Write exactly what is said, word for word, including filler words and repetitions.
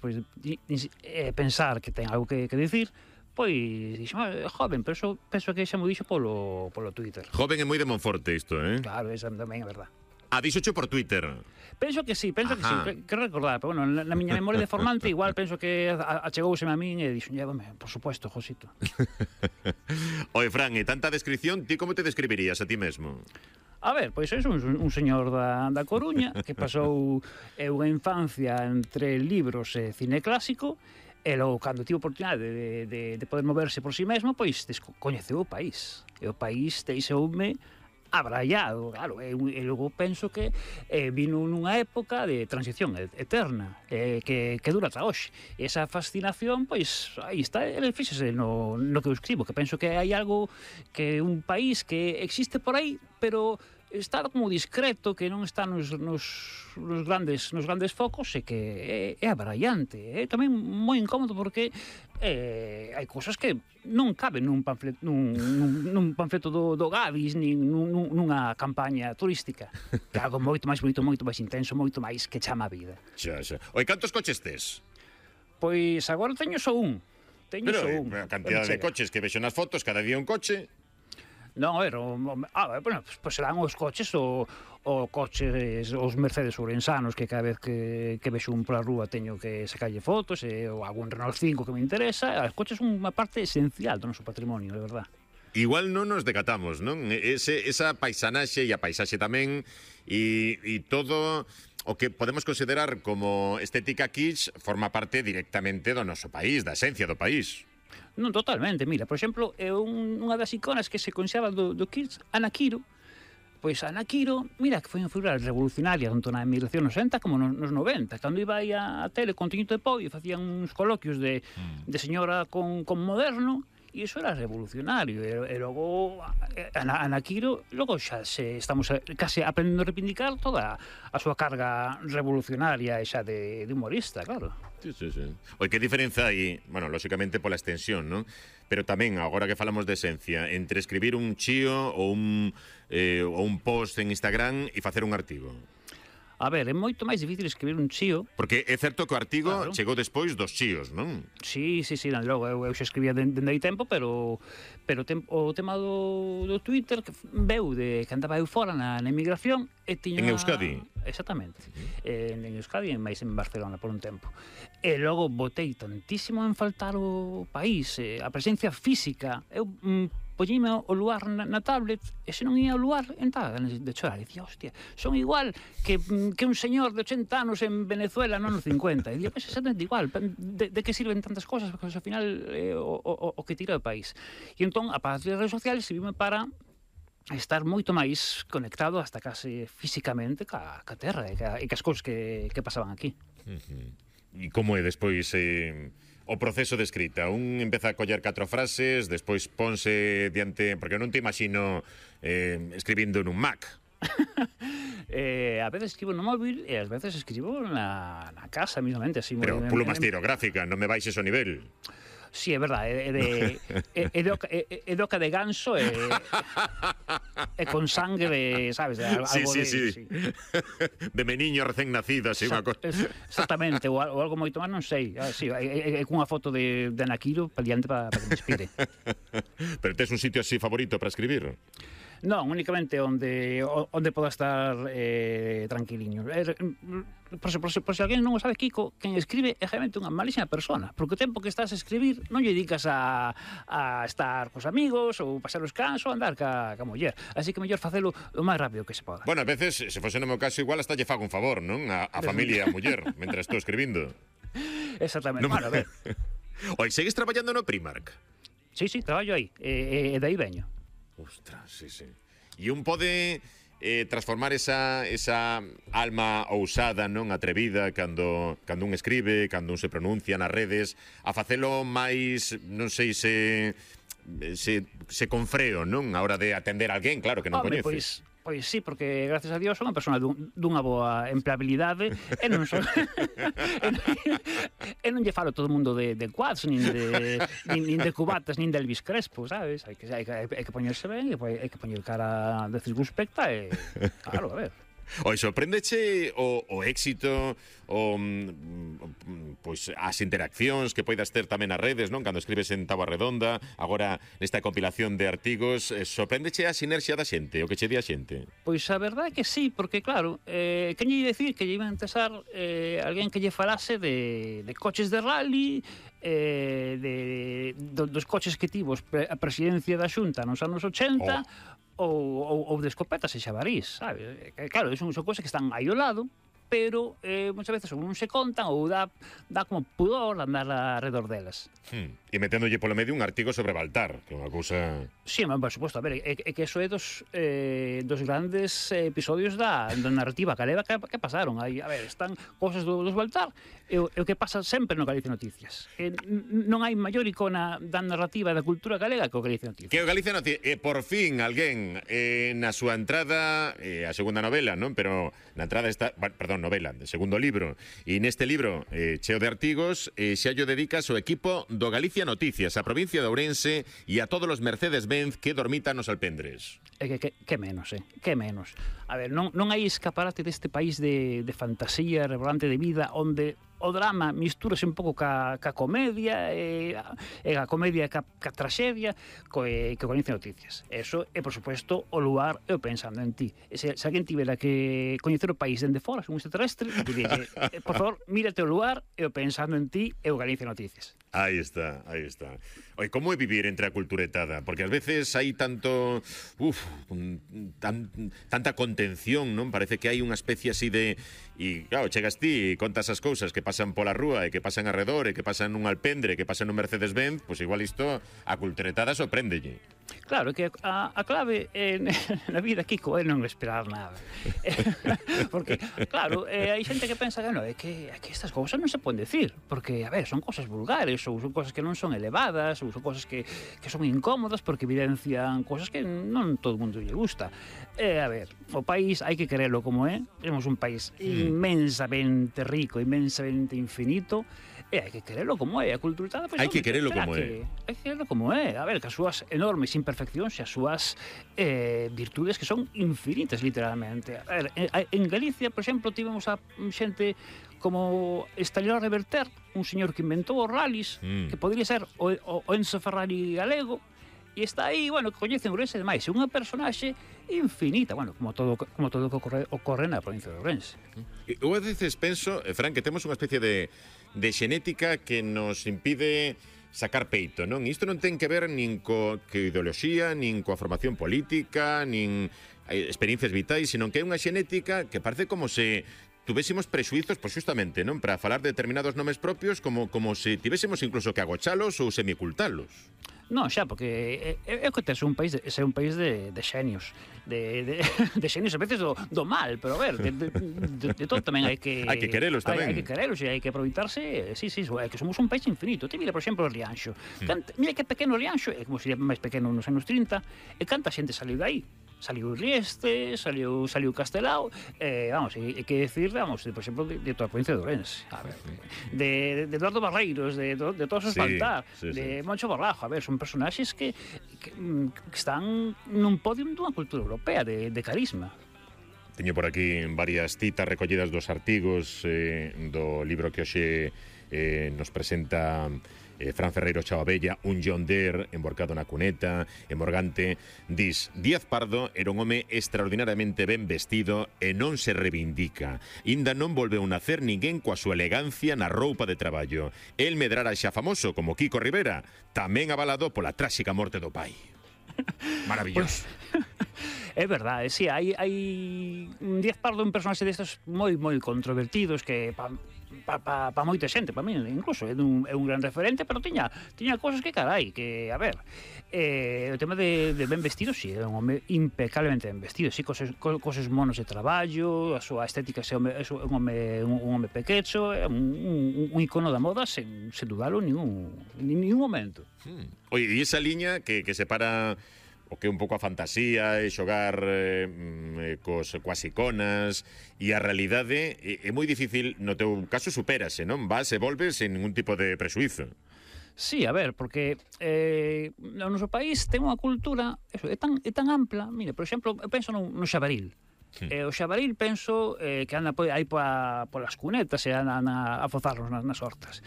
despois de, de, de pensar que ten algo que, que dicir, pois dixo, ah, joven, pero eso penso que xa mo dixo polo, polo Twitter. Joven é moi de Monforte isto, eh? Claro, esa tamén é verdad. Ah, dixocho por Twitter. Penso que sí, penso Ajá. que sí, que recordar, pero bueno, na, na miña memoria de formante igual penso que achegouseme a min e dixo, llévame, por supuesto, Josito. Oe, Fran, e tanta descripción, ti como te describirías a ti mesmo? A ver, pois é un, un señor da, da Coruña que pasou eh, unha infancia entre libros e cine clásico e logo, cando tivo oportunidade de, de, de poder moverse por si mesmo, pois coñeceu o país. E o país deixoume abrallado, claro, e, e logo penso que eh, vino nunha época de transición eterna, eh, que, que dura ata hoxe. E esa fascinación, pois, aí está, ele fíxese no, no que eu escribo, que penso que hai algo, que un país que existe por aí, pero está como discreto, que non está nos, nos, nos, grandes, nos grandes focos e que é, é abrallante. É tamén moi incómodo porque eh, hai cousas que non caben nun panfleto, nun, nun, nun panfleto do, do Gavis, nin nun, nunha campaña turística. Que é algo moito máis bonito, moito máis intenso, moito máis que chama a vida. Xa, xa. Oi, cantos coches tes? Pois agora teño só un. Teño Pero só un. a cantidad de coches que vexo nas fotos, cada día un coche. Non, a ver, o, ah, bueno, pois serán os coches o, o coches, os Mercedes ourensanos que cada vez que, que vexo un pola rúa teño que sacarlle fotos, e, ou algún Renault cinco que me interesa. Os coches son unha parte esencial do noso patrimonio, de verdad. Igual non nos decatamos, non? Ese, esa paisanaxe e a paisaxe tamén e, e todo o que podemos considerar como estética kitsch forma parte directamente do noso país, da esencia do país. Non, totalmente, mira, por exemplo, é un, unha das iconas que se conxaba do, do Kitsch, Ana Quiro. Pois Ana Quiro, mira, que foi unha figura revolucionaria tanto na emigración nos sesenta como nos, nos noventa. Cando iba aí a, a tele con Tiñito de Pou e facían uns coloquios de, mm. de señora con, con moderno, e iso era revolucionario. E, e logo Ana, Ana Quiro, logo xa se estamos case aprendendo a reivindicar toda a súa carga revolucionaria e xa de, de humorista, claro. Sí, sí, sí. Oi, que diferenza hai, bueno, lóxicamente pola extensión, non? Pero tamén, agora que falamos de esencia, entre escribir un chío ou un, eh, ou un post en Instagram e facer un artigo. A ver, é moito máis difícil escribir un chío. Porque é certo que o artigo claro. chegou despois dos chíos, non? Sí, sí, sí, logo eu, eu xa escribía dende aí tempo, pero pero tem, o tema do, do Twitter que veu de que andaba eu fora na, na emigración e tiña... En Euskadi? Exactamente. Uh-huh. en, en Euskadi e máis en Barcelona por un tempo. E logo botei tantísimo en faltar o país, eh, a presencia física. Eu... Mm, poñime o lugar na, na tablet e se non ia ao lugar, entraba de chorar. E dicía, hostia, son igual que, que un señor de ochenta anos en Venezuela non nos cincuenta. E dicía, pois exactamente igual, de, de que sirven tantas cosas, porque ao final é eh, o, o, o que tira o país. E entón, a partir das redes sociales, servime para estar moito máis conectado hasta case físicamente ca, ca terra e, ca, e cas cousas que, que pasaban aquí. Uh-huh. E como é despois... Eh... o proceso de escrita? Un empeza a coller catro frases, despois ponse diante... Porque non te imagino eh, escribindo nun Mac. eh, a veces escribo no móvil e ás veces escribo na, na casa mismamente. Así, pero moi, pluma estilográfica, non me baixes o nivel. Sí, é verdade, é de é, é, de, é, é de oca de ganso e, e con sangre, sabes, de, algo sí, sí, de, sí. sí. De meniño recén nacido, así, unha cosa. Exactamente, ou, ou algo moito máis, non sei. Ah, sí, é, é, é cunha foto de, de Ana Quiro para diante para pa que me inspire. Pero tes un sitio así favorito para escribir? Non, únicamente onde onde poda estar eh, tranquiliño. Eh, por, por, por, por se alguén non o sabe, Kiko, quen escribe é realmente unha malísima persona, porque o tempo que estás a escribir non lle dedicas a, a estar cos amigos ou pasar os cans ou andar ca, ca muller. Así que mellor facelo o máis rápido que se poda. Bueno, a veces, se fose no meu caso, igual hasta lle fago un favor, non? A, a familia e a muller, mentre estou escribindo. Exactamente. No, bueno, a ver. Oi, segues traballando no Primark? Sí, sí, traballo aí, e, e de aí veño. Ostras, sí, sí. E un pode eh, transformar esa, esa alma ousada, non atrevida, cando, cando un escribe, cando un se pronuncia nas redes, a facelo máis, non sei se, se, se con freo, non? A hora de atender a alguén, claro, que non Hombre, coñeces. Pois... Pois sí, porque gracias a Dios son unha persona dun, dunha boa empleabilidade e non son e, non, e non lle falo todo o mundo de, de quads, nin de, nin, nin de cubatas, nin de Elvis Crespo, sabes? Hai que, hai que, hai que poñerse ben, hai que poñer cara de circunspecta e, claro, a ver. Oi, sorpréndeche o, o éxito, o, pois, as interaccións que poidas ter tamén nas redes, non? Cando escribes en Táboa Redonda, agora nesta compilación de artigos, eh, sorpréndeche a sinerxia da xente, o que che di a xente? Pois a verdade é que sí, porque claro, eh, que lle ia dicir que lle iba a interesar eh, alguén que lle falase de, de coches de rally, eh, de, do, dos coches que tivo a presidencia da Xunta nos anos ochenta, oh. ou, ou, ou de escopetas e xabarís, sabe? Claro, son, son cousas que están aí ao lado, pero eh, muchas veces ou non se contan ou dá, dá como pudor andar alrededor delas. Hmm. E meténdolle polo medio un artigo sobre Baltar, que é unha cousa... Sí, por suposto, a ver, é, é que eso é dos, eh, dos grandes episodios da, da narrativa galega que, que pasaron. Aí, a ver, están cosas do, dos Baltar, e o, o que pasa sempre no Galicia Noticias. E non hai maior icona da narrativa da cultura galega que o Galicia Noticias. Que o Galicia Noticias, e por fin alguén eh, na súa entrada, eh, a segunda novela, non? Pero na entrada está, perdón, novela, de segundo libro, e neste libro eh, cheo de artigos, eh, xa yo dedicas ao equipo do Galicia Noticias, a provincia de Ourense e a todos os Mercedes-Benz que dormitan nos alpendres. É que, que, que menos, eh? Que menos. A ver, non, non hai escaparate deste país de, de fantasía, revolante de vida, onde o drama mistúrase un pouco ca, ca comedia, e, e a comedia ca, ca traxedia, co, e, que o Galicia Noticias. Eso é, por suposto, o lugar e o pensando en ti. E se, se alguén tivera que coñecer o país dende fora, un extraterrestre, diría, eh, por favor, mírate o lugar e o pensando en ti e o Galicia Noticias. Aí está, aí está. Oi, como é vivir entre a culturetada? Porque ás veces hai tanto, uf, tan, tanta contención, non? Parece que hai unha especie así de... E, claro, chegas ti e contas as cousas que pasan pola rúa e que pasan arredor e que pasan nun alpendre, que pasan nun Mercedes-Benz, pois igual isto a culturetada sorpréndelle. Claro, que a, a clave eh, na vida, Kiko, é non esperar nada. Porque, claro, eh, hai xente que pensa que non, é que, é que estas cousas non se poden decir, porque, a ver, son cosas vulgares, ou son cosas que non son elevadas, ou son cosas que, que son incómodas porque evidencian cosas que non todo o mundo lle gusta. Eh, a ver, o país hai que querelo como é, temos un país inmensamente rico, inmensamente infinito, e hai que querelo como é. A cultura, pois, hai que querelo como que, é. Hai que querelo como é. A ver, que as súas enormes imperfeccións e as súas eh, virtudes que son infinitas, literalmente. A ver, en Galicia, por exemplo, tivemos a xente como Estalero Reverter, un señor que inventou os rallies, mm. que podría ser o, o, o Enzo Ferrari galego, e está aí, bueno, que coñecen Ourense demais, é unha personaxe infinita, bueno, como todo como todo que ocorre, ocorre na provincia de Ourense. Eu a veces penso, Fran, que temos unha especie de, de xenética que nos impide sacar peito, non? Isto non ten que ver nin co que ideoloxía, nin coa formación política, nin experiencias vitais, sino que é unha xenética que parece como se tuvésemos prexuizos, pois justamente, non? Para falar de determinados nomes propios, como como se tivésemos incluso que agochalos ou semicultalos. Non, xa, porque é, é que tes un país de, é un país de, de xenios, de, de, de xenios a veces do, do mal, pero a ver, de, de, de, de todo tamén hai que... Hai que querelos tamén. Hai, hai que querelos e hai que aproveitarse, sí, sí, é que somos un país infinito. Te mira, por exemplo, o Rianxo. Canta, mira que pequeno o Rianxo, é como sería máis pequeno nos anos trinta, e canta xente saliu dai. Saliu Rieste, saliu, saliu Castelao, eh, vamos, e, e que decir, vamos, de, por exemplo, de, de toda a provincia de Ourense, a ver, de, de Eduardo Barreiros, de, de, de todos os sí, Baltar, sí, de sí. Moncho Borrajo, a ver, son personaxes que, que, que están nun podium dunha cultura europea de, de carisma. Teño por aquí varias citas recollidas dos artigos eh, do libro que hoxe eh, nos presenta eh, Fran Ferreiro Chavabella, un John Deere emborcado na cuneta, en Morgante, dis: Díaz Pardo era un home extraordinariamente ben vestido e non se reivindica. Inda non volveu nacer ninguén coa súa elegancia na roupa de traballo. El medrara xa famoso como Kiko Rivera, tamén avalado pola tráxica morte do pai. Maravilloso. Pues, é verdade, sí, hai, hai Díaz Pardo un personaxe destes moi moi controvertidos que pa, pa, pa, pa moita xente, pa mí incluso é un, é un gran referente, pero tiña tiña cosas que carai, que a ver, eh, o tema de, de ben vestido, sí, é un home impecablemente ben vestido, sí, coses, coses monos de traballo, a súa estética é un home un, un home pequecho, é un, un, un icono da moda sen, sen dudalo en ningún, en ningún momento. Hmm. Oye, e esa liña que, que separa o que é un pouco a fantasía e xogar eh, cos, coas iconas e a realidade é, é moi difícil, no teu caso supérase, non? Vas e volves sen ningún tipo de presuizo. Sí, a ver, porque eh, no noso país ten unha cultura, eso, é tan, é tan ampla. Mire, por exemplo, eu penso no, no xabaril. E o xabaril penso eh, que anda aí polas cunetas e anda a fozarnos nas, nas hortas.